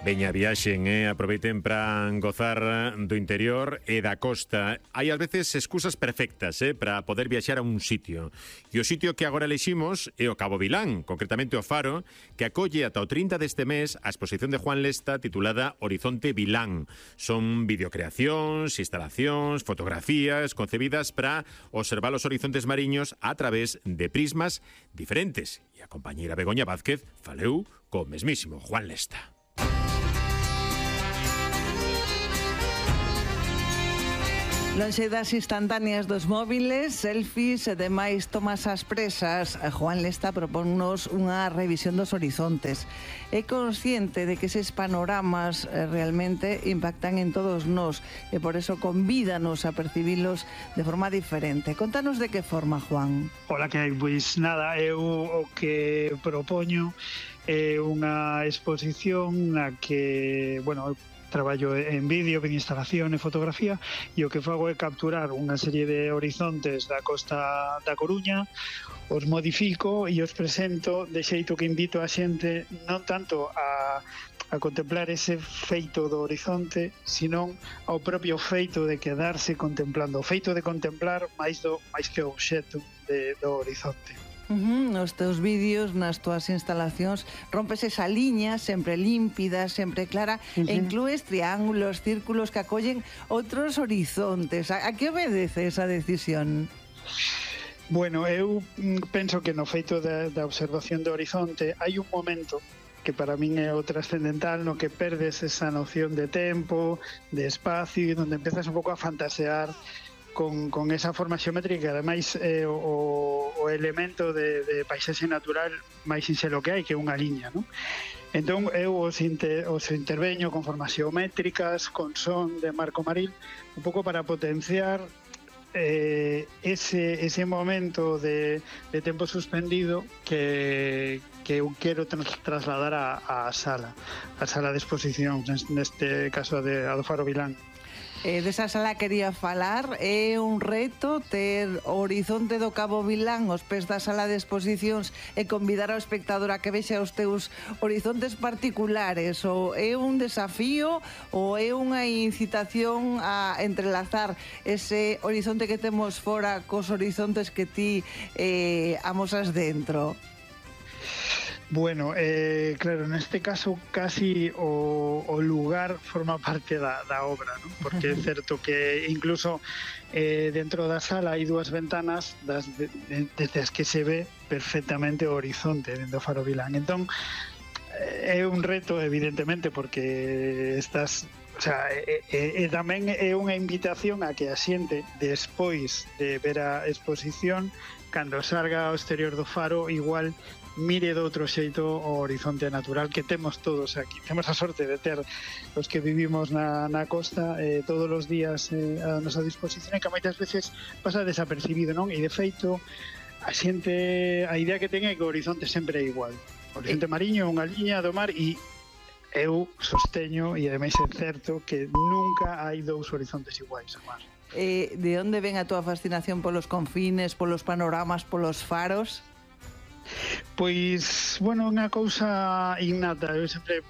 Veña, viaxen, aproveiten para gozar do interior e da costa. Hai ás veces excusas perfectas para poder viaxar a un sitio. E o sitio que agora eleximos é o Cabo Vilán, concretamente o Faro, que acolle ata o 30 deste mes a exposición de Juan Lesta titulada Horizonte Vilán. Son videocreacións, instalacións, fotografías concebidas para observar os horizontes mariños a través de prismas diferentes. E a compañeira Begoña Vázquez faleu co mesmísimo Juan Lesta. Lonxe das instantáneas dos móviles, selfies e demais tomas ás presas, Juan Lesta propónnos unha revisión dos horizontes. É consciente de que eses panoramas realmente impactan en todos nós e por eso convídanos a percibilos de forma diferente. Contanos de que forma, Juan. Ola, que hai? Pois nada, eu o que propoño é unha exposición na que, bueno, traballo en vídeo, en instalación e fotografía, e o que fago é capturar unha serie de horizontes da costa da Coruña, os modifico e os presento de xeito que invito a xente non tanto a contemplar ese feito do horizonte, senón ao propio feito de quedarse contemplando, o feito de contemplar máis que o obxecto do horizonte. Nos teus vídeos, nas túas instalacións, rompes esa liña sempre límpida, sempre clara, e inclues triángulos, círculos que acollen outros horizontes. A que obedece esa decisión? Bueno, eu penso que no feito da observación do horizonte hai un momento que para min é o trascendental, no que perdes esa noción de tempo, de espacio, e onde empezas un pouco a fantasear con esa forma xeométrica, que ademais é o elemento de paisaxe natural máis sinxelo que hai, que é unha liña, non? Entón eu os interveño con formas xeométricas, con son de Marco Maril, un pouco para potenciar ese momento de tempo suspendido que eu quero trasladar á sala de exposición, neste caso a do Faro Vilán. Desa sala quería falar. É un reto ter o horizonte do Cabo Vilán aos pés da sala de exposicións e convidar ao espectador a que vexa os teus horizontes particulares, ou é un desafío ou é unha incitación a entrelazar ese horizonte que temos fora cos horizontes que ti amosas dentro? Bueno, claro, neste caso casi o lugar forma parte da obra, ¿no? Porque é certo que incluso dentro da sala hai dúas ventanas desde as que se ve perfectamente o horizonte dentro do Faro Vilán. Entón, é un reto, evidentemente, porque estás... O sea, tamén é unha invitación a que a xente, despois de ver a exposición, cando salga ao exterior do Faro, igual mire de outro xeito o horizonte natural que temos todos aquí. Temos a sorte de ter os que vivimos na costa todos os días a nosa disposición, e que moitas veces pasa desapercibido, non? E de feito, a xente, a idea que ten é que o horizonte sempre é igual. O horizonte mariño é unha liña do mar, e eu sosteño, e ademais é certo, que nunca hai dous horizontes iguais ao mar. De onde ven a túa fascinación polos confines, polos panoramas, polos faros? Pois, bueno, unha cousa innata. Eu sempre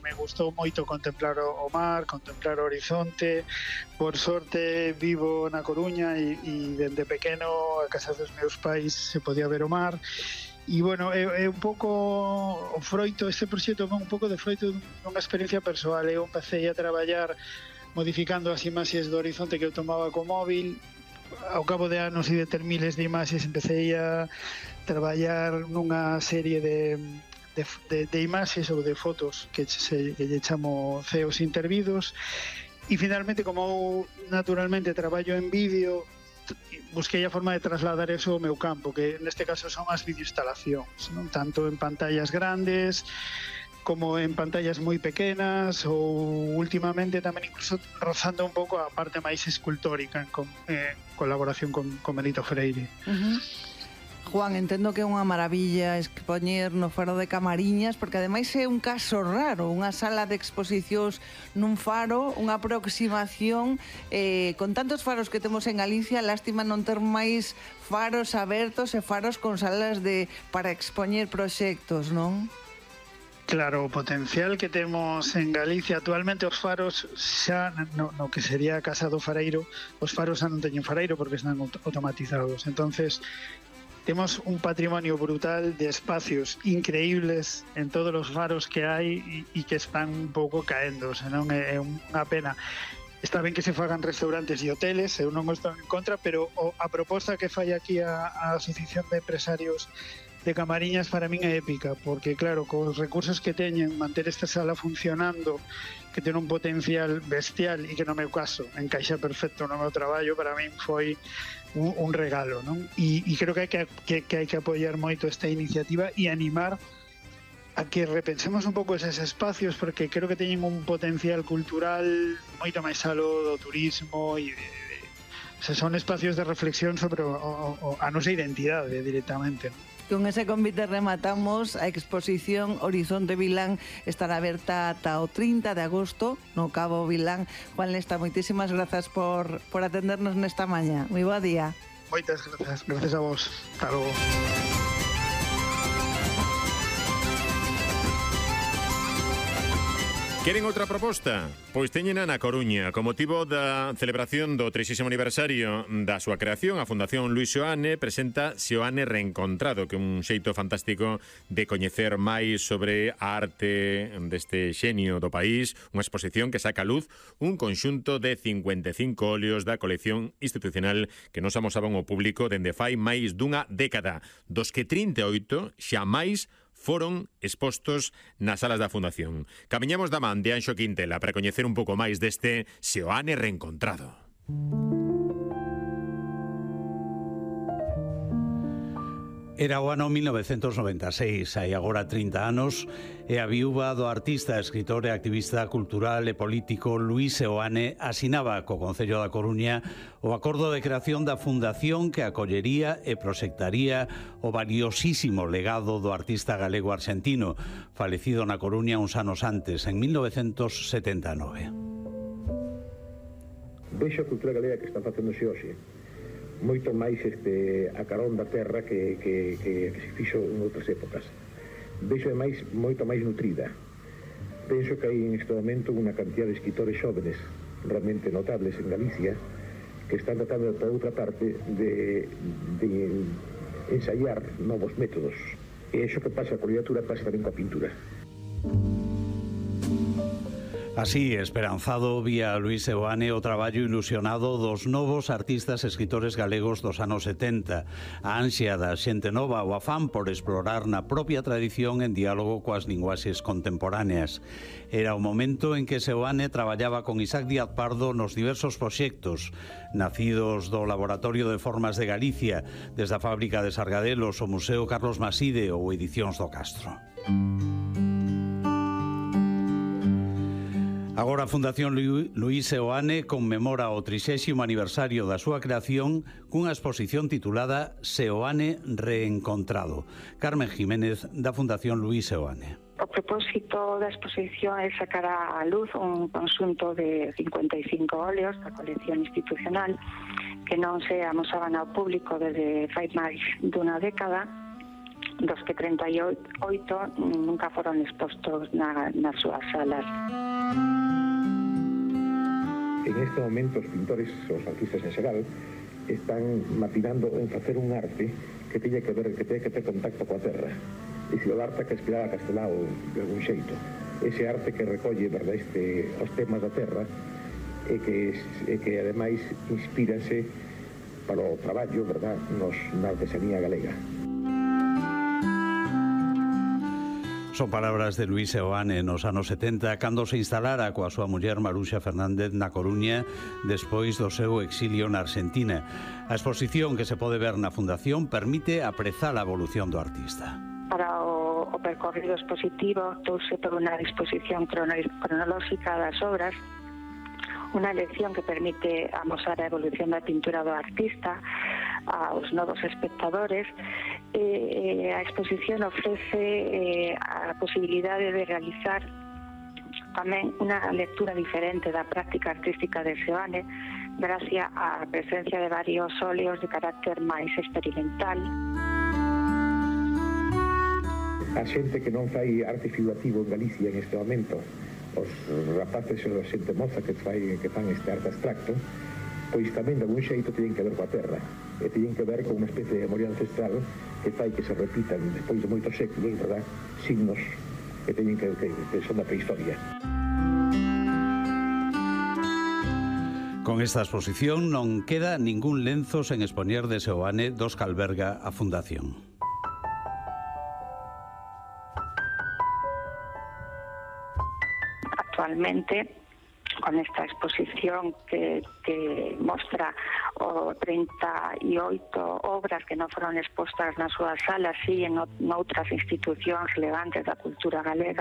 me gustou moito contemplar o mar, contemplar o horizonte. Por sorte vivo na Coruña e dende pequeno a casa dos meus pais se podía ver o mar. E, bueno, é un pouco o froito, este proxecto é un pouco de froito dunha experiencia persoal. Eu empecé a traballar modificando as imaxes do horizonte que eu tomaba co móvil. Ao cabo de anos e de ter miles de imaxes, empecé a traballar nunha serie de imaxes ou de fotos que lle chamo ceos intervidos, e finalmente, como eu naturalmente traballo en vídeo, busquei a forma de trasladar eso ao meu campo, que neste caso son as videoinstalacións, non? Tanto en pantallas grandes como en pantallas moi pequenas, ou últimamente tamén incluso rozando un pouco a parte máis escultórica en colaboración con Benito Freire. Juan, entendo que é unha maravilla expoñer no Faro de Camariñas, porque ademais é un caso raro, unha sala de exposicións nun faro, unha aproximación con tantos faros que temos en Galicia. Lástima non ter máis faros abertos e faros con salas para expoñer proxectos, non? Claro, o potencial que temos en Galicia actualmente, os faros xa no que sería a Casa do Fareiro, os faros xa non teñen fareiro porque están automatizados. Entonces, temos un patrimonio brutal de espacios increíbles en todos os faros que hai e que están un pouco caendo, senón é unha pena. Está ben que se fagan restaurantes e hoteles, eu non estou en contra, pero a proposta que fai aquí a Asociación de Empresarios de Camariñas para min é épica, porque claro, cos recursos que teñen, manter esta sala funcionando, que ten un potencial bestial e que no meu caso encaixa perfecto no meu traballo, para min foi un regalo, non? E creo que hai que apoiar moito esta iniciativa e animar a que repensemos un pouco eses espacios, porque creo que teñen un potencial cultural moito máis aló do turismo e son espacios de reflexión sobre a nosa identidade directamente, non? Con ese convite rematamos a exposición Horizonte Vilán. Estará aberta ata o 30 de agosto no Cabo Vilán. Juan Lesta, moitísimas grazas por atendernos nesta mañá. Moi bo día. Moitas gracias a vos. Hasta logo. Queren outra proposta? Pois teñena na Coruña. Con motivo da celebración do 30º aniversario da súa creación, a Fundación Luis Seoane presenta Seoane Reencontrado, que é un xeito fantástico de coñecer máis sobre a arte deste xenio do país, unha exposición que saca a luz un conxunto de 55 óleos da colección institucional que nos amosaban ao público dende fai máis dunha década, dos que 38 xa máis foron expostos nas salas da Fundación. Camiñamos da man de Anxo Quintela para coñecer un pouco máis deste Seoane Reencontrado. Era o ano 1996, hai agora 30 anos, e a viúva do artista, escritor e activista cultural e político Luis Seoane asinaba co Concello da Coruña o acordo de creación da fundación que acollería e proxectaría o valiosísimo legado do artista galego-arxentino, falecido na Coruña uns anos antes, en 1979. Vexo a cultura galega que está facéndose hoxe moito máis a carón da terra que se fixo en outras épocas. Vexo máis moito máis nutrida. Penso que hai en este momento unha cantidad de escritores xóvenes realmente notables en Galicia que están tratando por outra parte de ensayar novos métodos. E iso que pasa coa literatura pasa tamén coa pintura. Así, esperanzado, vía Luis Seoane o traballo ilusionado dos novos artistas e escritores galegos dos anos 70, a ansia da xente nova, o afán por explorar na propia tradición en diálogo coas linguaxes contemporáneas. Era o momento en que Seoane traballaba con Isaac Díaz Pardo nos diversos proxectos, nacidos do Laboratorio de Formas de Galicia, desde a Fábrica de Sargadelos, o Museo Carlos Maside ou Edicións do Castro. Agora a Fundación Luis Seoane conmemora o 30º aniversario da súa creación cunha exposición titulada Seoane Reencontrado. Carmen Jiménez, da Fundación Luis Seoane. O propósito da exposición é sacar á luz un conxunto de 55 óleos da colección institucional que non se amosaban ao público desde fai máis dunha década, dos que 38 nunca foron expostos nas súas salas. En este momento os pintores, os artistas en xeral, están maquinando en facer un arte que teña que ter contacto coa terra. E se o arte que inspiraba a Castelao de algún xeito. Ese arte que recolle, verdad, os temas da terra e que ademais inspíranse para o traballo, verdad, na artesanía galega. Son palabras de Luis Seoane nos anos 70, cando se instalara coa súa muller Maruxa Fernández na Coruña despois do seu exilio na Argentina. A exposición que se pode ver na Fundación permite aprezar a evolución do artista. Para o percorrido expositivo touse por unha disposición cronolóxica das obras, unha lección que permite amosar a evolución da pintura do artista aos novos espectadores. A exposición ofrece a posibilidade de realizar tamén unha lectura diferente da práctica artística de Seoane gracias á presencia de varios óleos de carácter máis experimental. a xente que non fai arte figurativo en Galicia en este momento, os rapaces e a xente moza que fan este arte abstracto, pois tamén de algún xeito teñen que ver coa terra e teñen que ver con unha especie de memoria ancestral que fai que se repitan despois de moitos séculos, verdad, signos que teñen que son da prehistoria. Con esta exposición non queda ningún lenzo sen expoñer de Seoane dos que alberga a Fundación. Actualmente, con esta exposición que mostra 38 obras que non foron expostas nas súas salas, sí, en outras institucións relevantes da cultura galega,